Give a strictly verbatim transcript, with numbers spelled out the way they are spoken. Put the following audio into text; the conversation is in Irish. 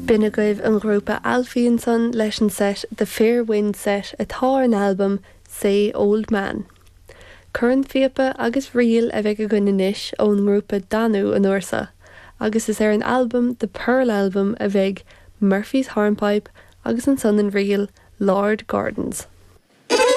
B'in agaibh an grúpa Alfie ansan leis an set The Fair Wind Set atá ar an albam Say Old Man. Cornphíopa agus ríl a bheidh againn anois ón ngrúpa Danú an uair seo, agus is ar an albam The Pearl Album a bheidh Murphy's Hornpipe agus ansan an ríl Lord Gordon's.